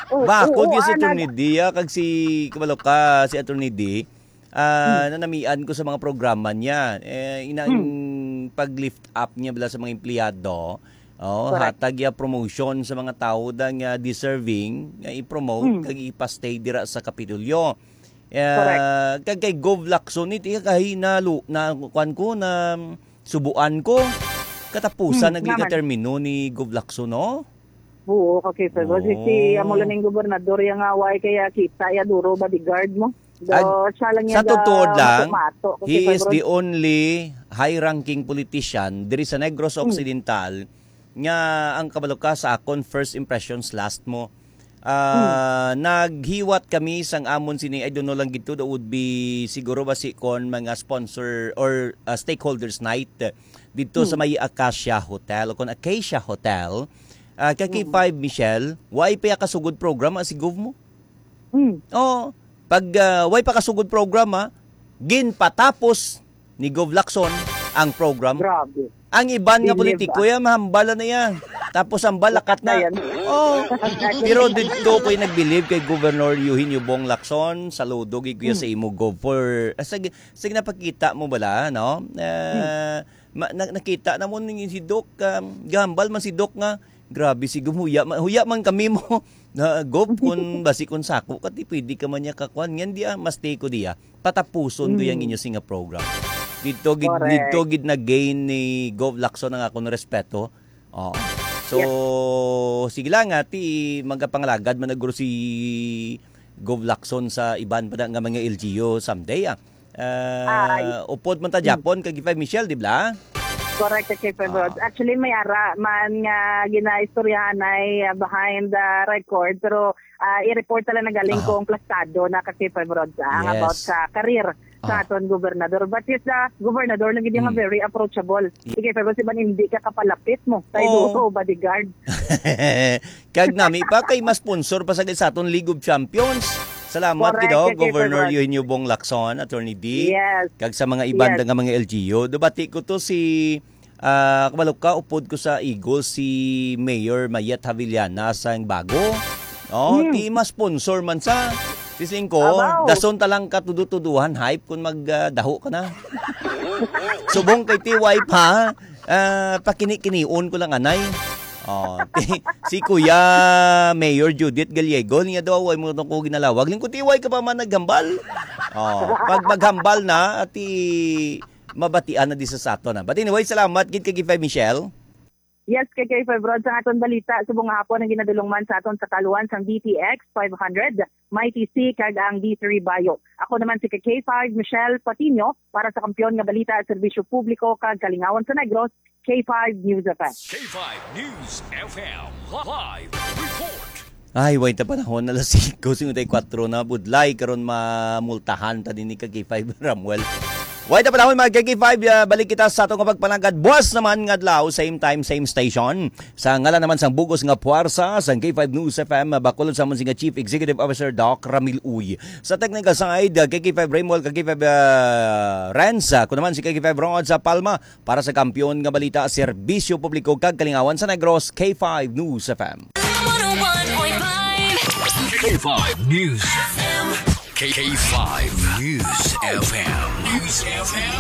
Oo, Bakod oo, yun si ah, Attorney nag- D, ah, kag si, kabalo ka, si Attorney D, ah, Hmm. nanamian ko sa mga programa niya. Eh, inang Hmm. pag-lift up niya bala sa mga empleyado, oh, Correct. hatag ya promotion sa mga tao da nga deserving nga i-promote Hmm. kag ipastay dira sa Kapitolyo. Eh, Correct. kag kay Gov Lacson, iti kahi na lu-, na, kuwan ko, na subuan ko. Katapusan Hmm, naging naman. katermino ni Gov Lacson, no? Oo, okay, sir. Kasi si Oo. amo lang ning gobernador, ya nga, way kaya kita, ya duro bodyguard mo. Do, Ag-, siya lang sa yan, totoo ah, lang, mato-mato, kasi he is Febron. the only high-ranking politician diri sa Negros Hmm. Occidental nga ang kabalo ka sa akon, first impressions last mo. Ah, Hmm. naghiwat kami sang amon sini, I don't know lang gid to, that would be siguro ba si kon mga sponsor or, ah, stakeholders night dito sa Hmm. may Acacia Hotel o kon Acacia Hotel. Ah, kay Mm. K five, Michelle, way pa ya kasugod program, ah, si Gov mo? Mm. Oo. Pag, ah, way pa kasugod program, ah, ginpatapos ni Gov Lacson ang program. Grabe. Ang iban nga Bilib, politiko, ah. ya, mahambal na ya. Tapos ang balakat Lakat na. na yan. Oh. Pero dito ko'y nagbilib kay Governor Eugenio Bong Lacson. Saludo gid ko ya Mm. sa imo, Gov, for, ah, sa, sa ginapakita mo bala, no? Ah, Mm. ma-, na-, nakita na mo ni si Doc, um, gahambal man si Doc nga, "Grabe, si Gov, huya ma-, huya man kami mo." Na, Gov, kung basi kung sako ka, ti pwede ka man niya kakuan. Ngan di, ah, mas tiko di, ah. Patapuson ko yang Mm. inyo singa program. Dito gid, Correct. dito gid na-gain ni Gov Lacson ang akong respeto. Oo. So, Yes. sige lang, ah, ti magapangalagad man na guro si Gov Lacson sa iban pa na nga mga L G U someday, ah. Ah, Ay. upod man ta Mm. Japon kag K five, Michelle, di ba? Correct, K five Ah. Rods. Actually, may ara man nga ginaistoryahan ay, ah, behind the record, pero, ah, i-report na lang nagaling Ah. kung plastado na ka K five Rods, ah, ang Yes. about sa career sa Ah. aton gobernador. But yes, the gobernador lagi di nga Mm. very approachable. Ye- Sige, pero si man hindi ka kapalapit mo. Kay Oo. duo, bodyguard. Kag nami pa kay mas sponsor pa sa, sa aton League of Champions. Salamat Correct, gid, oh, kay Governor Governor. Eugenio Bong Lacson, Attorney D. Yes. Kag sa mga iban Yes. nga mga L G U. Dubati ko to si, ah, kabalo ka, upod ko sa Eagles, si Mayor Mayet Havillana sang bago. Oh, Hmm. ti mas sponsor man sa. Sising ko, Abaw. dason ta lang ka tudo-tuduhan, hype kung mag, ah, daho ka na. Subong kay T Y pa, ah, pakini-kinion ko lang, anay. Oh, si Kuya Mayor Judith Gallego, niya daw, "Way mo tong ko ginalawag." Lingkod, "T Y ka pa man naghambal?" Oh, pag maghambal na, ati mabatian na di sa sato na. But anyway, salamat gid kay K five, Michelle. Yes, kay K five Rod, sa aton balita, subong nga hapon ang ginadulong man sa aton sa kaluan sang D T X five hundred, Mighty C, kag ang D three Bayo. Ako naman si K five, Michelle Patino, para sa Kampiyon nga Balita, Serbisyo Publiko, kag Kalingawan sa Negros, K five News F M. K five News F M, live report. Ay, way ta panahon, alas singko cincuenta y cuatro na, budlay, karon mamultahan ta din ni ka K five Ramuel. Way ta panahon, mga K five, ah, balik kita sa ato nga pagpanagad. Buwas naman nga adlaw, same time, same station. Sa ngalan naman sang bugos nga puwersa, sang K five News F M, bakulod sa amon si nga Chief Executive Officer, Doc Ramil Uy. Sa technical side, ah, K five Ramuel, K five, ah, Renz, ah, ako naman si K five Rod sa Palma, para sa Kampiyon nga Balita, Serbisyo Publiko kag Kalingawan sa Negros, K five News F M. One oh one point five. K five News. K five News F M. News F M.